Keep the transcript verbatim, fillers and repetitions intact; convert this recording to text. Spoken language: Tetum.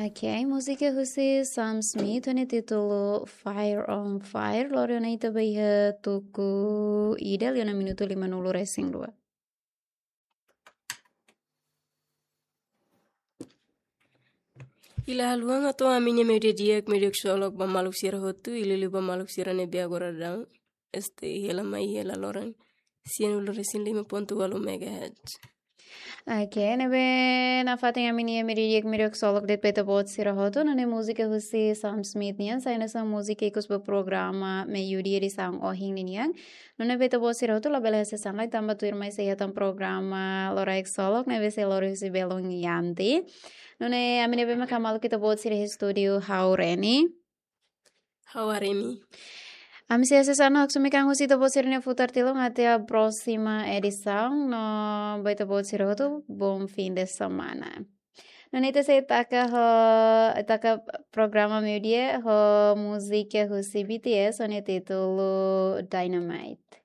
Ok, múzika husi Sam Smith ho nia títulu Fire on Fire. Lori ona ita ba iha tuku ida liu ona minutu lima nulu resin dua. Ila haluha, hato'o ami-nia meiudia di'ak, meiudia ksolok ba maluk sira hotu, liuliu ba maluk sira ne'ebé agora daudaun stay hela mai hela loron, sian ulu resin lima pontu walu megahertz. Ok, ne'ebé nafatin ami-nia meiudia di'ak, meiudia ksolok de'it ba ita-boot sira hotu, nune'e múzika husi Sam Smith nian, sai hanesan múzika ikus ba programa meiudia edisaun ohin ninian. Nune'e ba ita-boot sira hotu labele hasees an lai tanba tuirmai sei iha tan programa loraik ksolok ne'ebé sei lori husi belun Yanti. Nune'e ami ne'ebé mak hamaluk ita-boot sira iha estúdiu ha'u Reni. Ha'u Aremi. Ami sei hasees an no haksomi kan husi ita-boot sira-nia futar tilun até a próxima edição. No ba ita-boot sira hotu, bom fim de semana. Nune'e ita sei taka ho, taka programa meiudia ho múzika husi B T S ho nia títulu Dynamite.